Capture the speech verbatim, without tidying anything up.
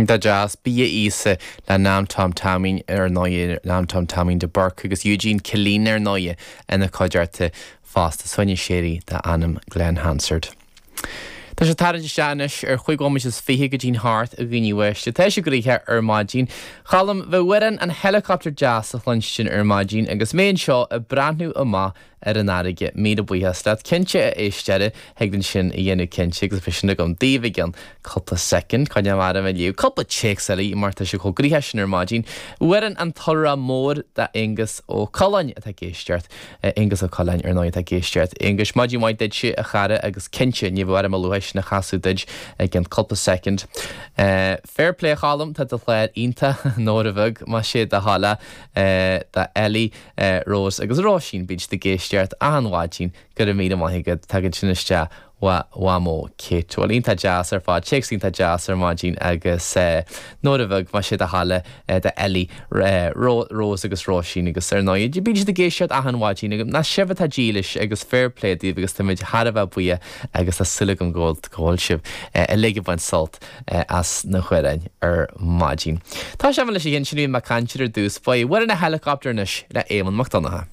Iontach deas, Bia Íosa le Nam Tom Taimín ar ndóigh, Nam Tom Taimín de Burc agus Eugene Killeen ar ndóigh ina chuideachta fosta, Soine Séirí dá ainm Glen Hansard. Tá sé tarraingt isteach anois ar chúig bhomaite is fiche go dtí'n hocht, a dhaoine uaisle. Tá sé gnoitheach ar maidin. Cholm, bheadh amhrán an Helicopter deas a chluinstin ar maidin agus mé anseo ag breathnú amach ar an fharraige. Míle buíochas leat. Cinnte, a éisteoir, thig linn sin a dhéanamh cinnte agus beidh sin agam daoibh i gcionn cúpla soicind. Coinneoidh mé orm ag léamh cúpla téacs eile mar tá sé chomh gnoitheach sin ar maidin. Amhrán an Tulra Mór d'Aonghus Ó Coileáin atá ag éisteacht. Aonghus Ó Coileáin ar ndóigh atá ag éisteacht. Aonghus, maidin mhaith duitse a chara agus cinnte ní bheidh orm a luaithe sin a chasadh duit i gcionn cúpla soicind. Fair play a Cholm, tá do chlár iontach, Nóra bheag, más é do thoil é, do Ellie, Rose agus Róisín, bíonn siad ag éisteacht achan mhaidin, go raibh míle maith agat, tagann sin isteach ó Mhamó Kate. Bhuel, iontach deas ar fad, téacs iontach deas ar maidin agus Nóra bheag, más é do thoil é, do Ellie, Rose agus Róisín agus ar ndóigh, bíonn siad ag éisteacht achan mhaidin agus ná sibh atá dílis agus fair play daoibh agus táimid thar a bheith buíoch agus tá súil agam go bhfuil go bhfuil sibh uilig ag baint sult as na hamhráin ar maidin. Tá sé leis an sin bhí mé ag caint ar dtús, faoi amhrán an Helicopter anois le Éamonn Mac Donncha.